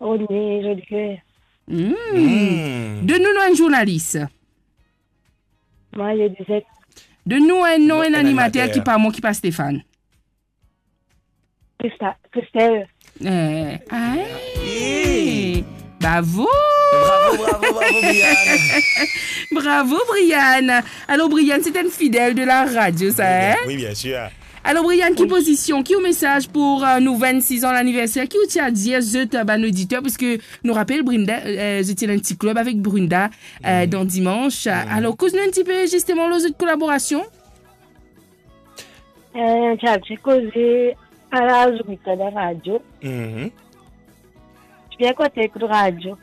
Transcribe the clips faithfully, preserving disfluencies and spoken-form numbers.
Rodney Jolicoeur. Hmm. Hmm. Donn nou nom enn zournalis. Mario Dizet. Donn nou enn nom enn animater ki pa mwa, ki pa Stéphane. Christa-, Christelle. Eh, aïe. Hey. Bravo. Bravo, bravo, bravo, Brianne. Bravo, Brianne. Alors, Brianne, c'est une fidèle de la radio, ça, hein? Oui, bien sûr. Alors, Brianne, ki pozision, ki ou mesaz pou, euh, nou vennsis an laniverser, ki ou ti a dir zot, euh, bann oditer, parski nou rapel, Brenda, euh, zot ti ena enn ti klib avek Brenda, euh, dan Dimanche. Alors, koz nou enn tipe, zisteman, lor zot kolaborasion. Euh, ti a ti koze a la radio. Mhm. Ti bien kontan ekout radio.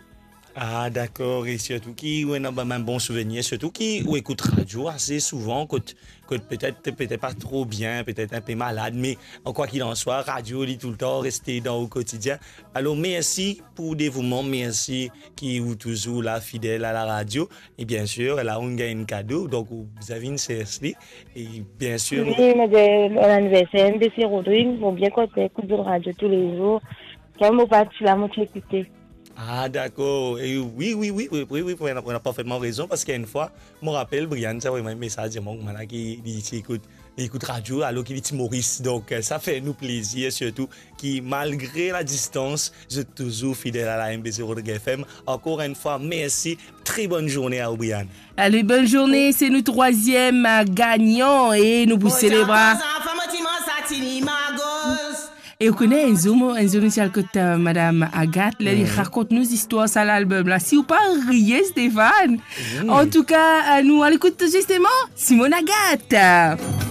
Ah, dakor. E sirtou ki ou ena bann bon souvenir, sirtou ki ou ekout radio ase souvan, kot, kot petet, petet pa tro bien, petet inpe malad, me an kwa kil an swa, radio, li toultan reste dan ou kotidien. Alor, mersi pou devouman, mersi ki ou touzour la, fidel a la radio. E bien sir, la, ou gagn enn kado, donk ou bizin vinn sers li. E bien sir, wi, nou mo dir, bon laniverser, M B C Rodrigue, mo bien kontan ekout zot radio toulezour. Kan mo pa ti la, mo ti ekoute. Ah, dakor. E wi, wi, wi, ou ena, ou ena parfetman rezon, parski enn fwa, mo rapel, Brianne, ti avoy mwa enn mesaz, dir mwa kouma la ki li ti ekout, li ekout radio, alor ki li ti Moris. Donk, euh, sa fer nou plezir, sirtou ki malgre la distans, zot touzour fidel a la M B C Rodrigue F M. Ankor enn fwa, mersi. Très bonne journée à Brianne. Allez, bonne journée. C'est nous troisième, euh, gagnant et nous pour célébrer. E ou kone, enn zour, mo, enn zour nou ti al kot, euh, Madame Agathe, la, li rakont nou zistwar sa lalbom la. Si ou pa riye, Stéphane. An tou ka, euh, nou al ekout zisteman Simone Agathe.